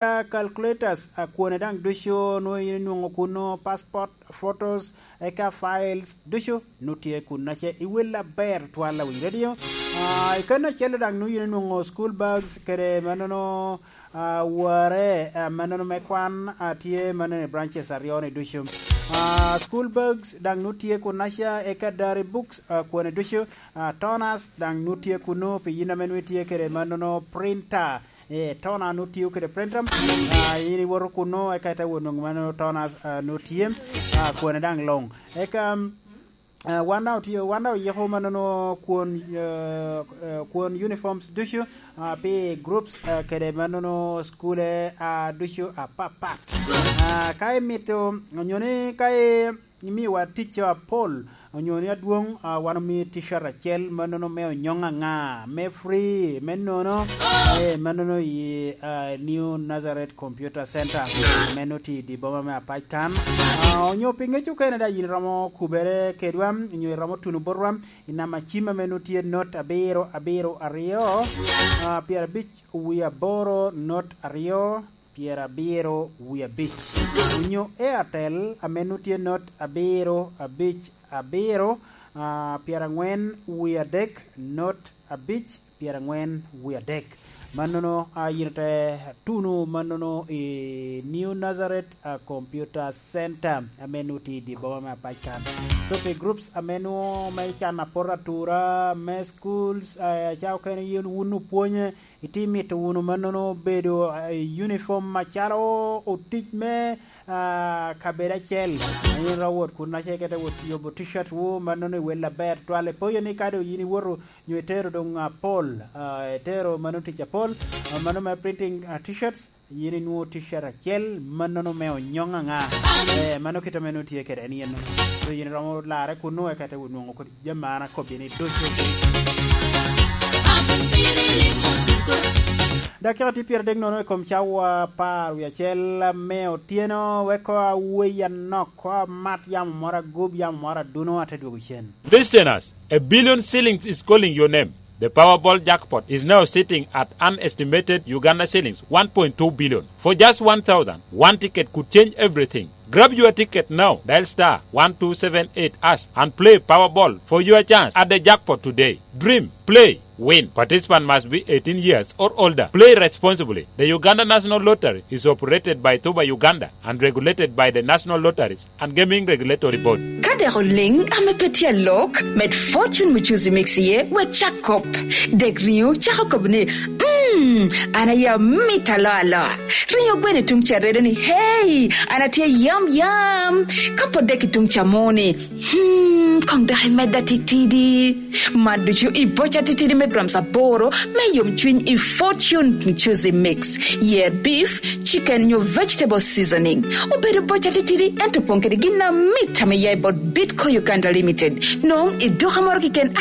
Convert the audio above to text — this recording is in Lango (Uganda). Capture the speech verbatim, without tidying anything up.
Eka calculators, a, kwone daŋ ducu nwoŋo yin inwoŋo kuno, passport, photos, eka files ducu nwoŋo tye kuno. Ace i wel aber twal awiny radio. A, i kano acel daŋ nwoŋo yin inwoŋo school bags kede mannono, a, ware, a, mannono me kwan, a, tye mannono i branches aryo ni ducu. A, school bags daŋ nwoŋo tye kuno aca, eka diary books, a, kwone ducu, a, toners daŋ nwoŋo tye kuno pi yin ame nwoŋo itye kede mannono printer. Eh, tona nwoŋo tio kede printer. Ah, yin iwoto kuno, eka ite wot nwoŋo mano tona, ah, nwoŋo tye, ah, kwone daŋ luŋ. Eka, ah, wan daŋ otio, wan daŋ oyiko mannono kwon, eh, eh, kwon uniforms ducu, ah, pi groups, eh, kede mannono skule, ah, ducu apapat. Ah, ka imito, onyo ni ka i- Imiowa ticca apol, onyo ni adwoŋ, a, wan omio t-shirt acel, mannono me onyoŋ aŋa, me free, me nono, eh, mannono i, a, New Nazareth Computer Center, ame nwoŋo tye i dye boma me Apac kan. A, onyo pi ŋec okene daŋ yin iromo kubere kedwa, onyo iromo tuno botwa, i namba cim ame nwoŋo tye not abiro abiro aryo, a, pyerabic wie aboro not aryo, pyerabiro wie abic, onyo Airtel ame nwoŋo tye not abiro abic abiro, ah, pyeraŋwen wie adek not abic, pyeraŋwen wie adek. Mannono, ah, yin te tuno mannono i New Nazareth, ah, Computer Center ame nwoŋo tye i dye boma me Apac kan. So pi groups ame nwoŋo me can aporo atura, me schools, ah, ca okene yin wun opwonye, itye mito wunu mannono bedo, eh, i uniform macalo otic me, ah, kabedo acel. In ro wot kun ace kete wot yobo t-shirt wu mannono i wel aber twal. Ipoyo ni ka doŋ yin iwoto nyo itero doŋ apol, ah, itero mano tic apol, ah, mano me printing, ah, t-shirts, yin inwoŋo t-shirt acel, mannono me onyoŋ aŋa. Eh, mano kit ame nwoŋo tye kede en yen. So yin iromo larre kunnu, eka te wot nwoŋo kodi jami an akobbi ni ducu. Dakika tye pyeradek nono i kom cawa apar wie acel me otyeno, wek koŋ awei anok, koŋ amat yamo moro agob, yamo moro aduno, ate dwogo cen. Listeners, a billion shillings is calling your name. The Powerball jackpot is now sitting at an estimated Uganda shillings one point two billion. For just one thousand, one ticket could change everything. Grab your ticket now. Dial star one two seven eight hash and play Powerball for your chance at the jackpot today. Dream, play, win. Participant must be eighteen years or older. Play responsibly. The Uganda National Lottery is operated by Tuba Uganda and regulated by the National Lotteries and Gaming Regulatory Board. Ka dek oliŋ ame pe tye alok, med Fortune Muchuzi Mix iye, wek cak kop. Dek riŋo cako kop ni, "Mm, an aye amito alo alo." Riŋo gweno i tuŋ ca redo ni, "Hey, an atye yam yam." Ka pwod dek i tuŋ ca mo ni, "Hmm, koŋ dok imedda titidi." Man ducu i boca titidi me grams aboro me yomcwiny i Fortune Muchuzi Mix. Yer beef, chicken nyo vegetable seasoning. Obedo boca titidi, ento opoŋ kede gin amit ame ya i bot Bitco Uganda Limited. Noŋ i duka moro keken